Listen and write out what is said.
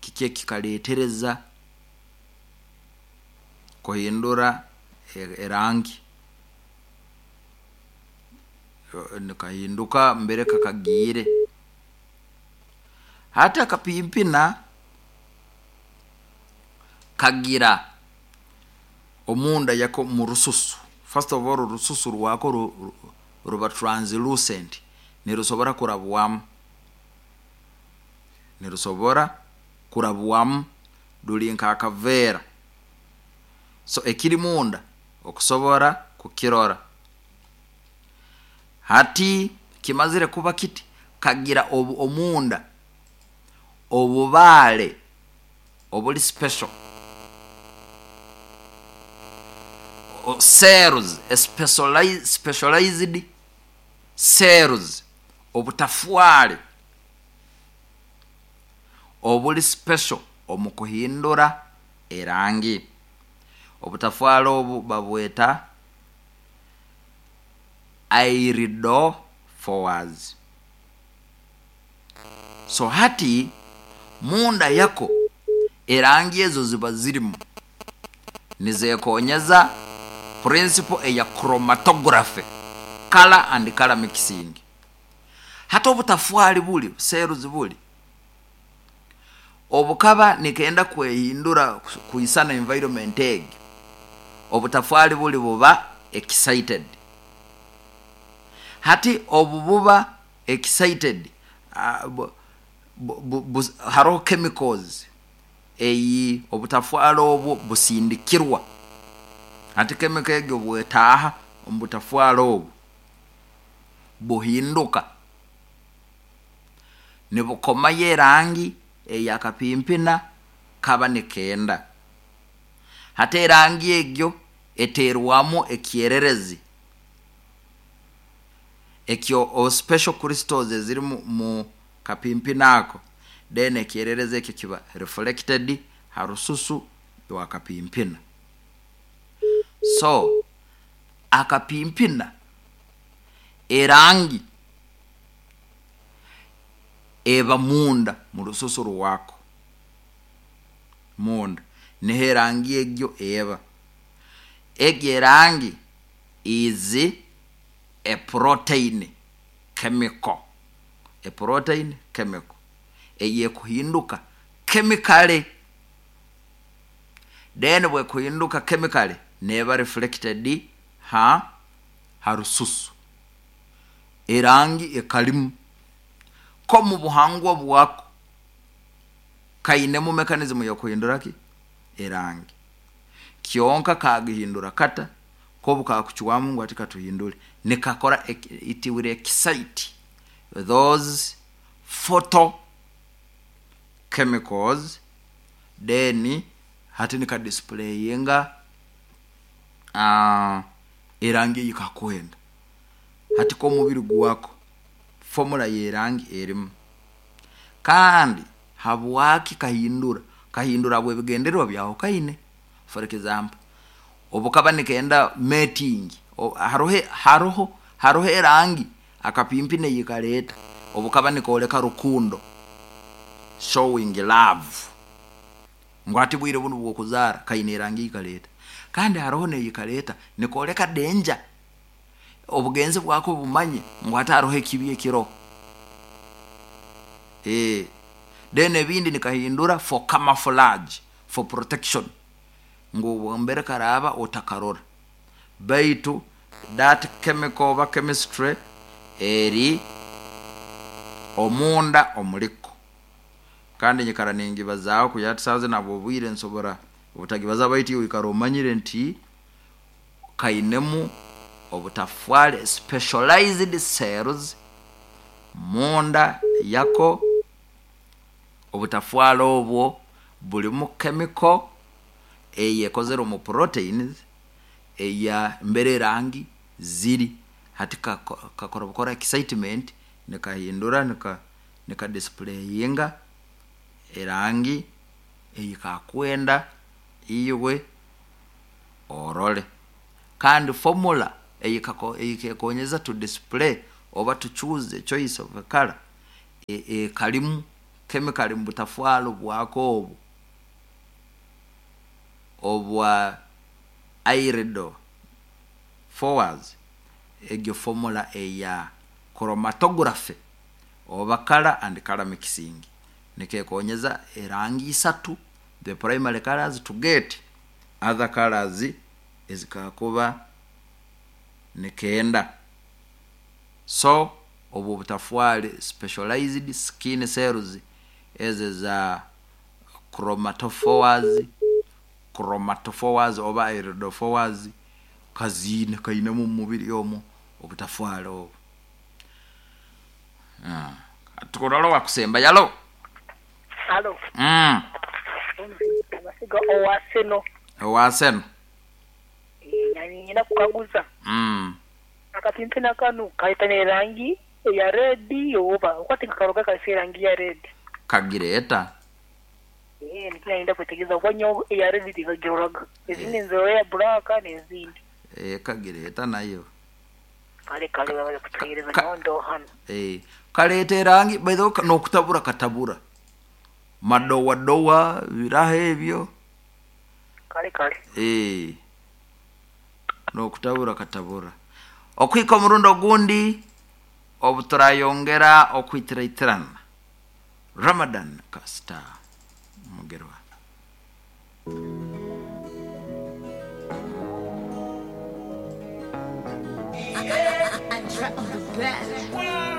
Kiki ekikaleetereza kuhindura erangi? Nikahinduka mbere kakagiire. Hati akapimpina kagira omunda yako omu rususu, first of all orususu rwako ruba translucent, nirusobora kurabwamu, nirusobora kurabwamu ruri nk'akaveera, so ekiri munda okusobora kukirora. Hati kimazire kuba kiti, kagira omunda obubaare oburi special, cells, specialized cells, obutafware oburi special omu kuhindura erangi. Obutafware obu babweta iridophores. So hati munda yako erangi ezo ziba zirimu nizekonyeza principle eya chromatography, colour and colour mixing. Hati obutafwari buri, cells buri, obukaba nikenda kwehindura kwisana environment egi, obutafwari buri buba excited. Hati obu buba excited, haroho chemicals eyi obutafwari obwo busindikirwa. Hati chemical egi obu etaaha omu butafwari obu, buhinduka nibukomayo erangi ei akapimpina kaba nikenda. Hati erangi egyo eteerwamu ekyererezi ekyo special crystals eziri mu kapimpina ako, then ekyererezi ekyo kiba reflected ha rususu rwa kapimpina. So akapimpina erangi eba munda mu rususu rwako, munda niho erangi egyo eba. Egyo erangi is a protein chemical, a protein chemical eyekuhinduka chemically, then bwekuhinduka chemically neeba reflected ha rususu. Erangi ekarimu nk'omu buhangwa bwako kainemu mechanism y'okuhindura ki? Erangi. Kyonka kagihindura kata? Nk'obu kakucwamu ngu hati katuhindure, nikakora it will excite those photo chemicals then hati nika displayinga erangi ei kakwenda. Hati k'omubiri gwako formula y'erangi erimu. Kandi habwaki kahindura? Kahindura habw'ebigendererwa byahukaine. For example, obu kaba nikenda mating, haroho haroho haroho erangi akapimpina ei kareeta obu kaba nikooreka rukundo, showing love, ngu hati bwire bunu bw'okuzaara kaine erangi ei kareeta. Kandi haroho n'ei kareeta nikooreka danger, obugenzi bwako bumanye ngu hati haroho ekibi ekiroho. Then ebindi nikahindura for camouflage, for protection, ngu mbere karaaba otakarora. Baitu that chemical oba chemistry eri omunda omuriko. Kandi nyikara ningibazaaho kugira hati saaha zinu habw'obwire nsobora obutagibazaho baitu iwe oikara omanyire nti kainemu obutafwari, specialized cells, munda yako. Obutafwari obwo burimu chemical eyekozire omu proteins eya mbere erangi ziri. Hati kakora bukora excitement nikahindura nika displayinga erangi ei kakwenda iwe orore. Kandi formula ei kekonyeza to display oba to choose a choice of a colour ekarimu. chemical mu butafwaro bwako obu obwa irido forwards egyo formula eya chromatography oba color and color mixing nikekonyeza erangi isatu, the primary colors, to get other colors ezikakuba nikenda. So obwo obutafwari specialized skin cells ezo eza chromatophores, chromatophores oba iridophores kaziine kainemu omu mubiri omu obutafwari obu. Tukurora owakusembayo. Alo. Alo. Amasiga owa Seno. Owa Seno. Niinyenda kukaguza. Akapimpi kanu kaita n'erangi eya redi oba? Ahabw'okuba tinkakaroga kariho erangi ya redi. Kagireeta. Nikyo naayenda kwetegereza ahabw'okuba nyowe eya redi tinkagiroraga. Ezindi nzirora eya buraaka n'ezindi. Kagireeta nayo. Kare kare webale kutuheereza nyowe ndi hanu. Kareeta erangi by the way n'okutabura katabura. Madowadowa biraho ebyo. Kare kare. N'okutabura katabura. Okuhika omurundi ogundi obu turayongera okwitiraitirana. Ramadan Kasita Mugerwa. Andra on the bed.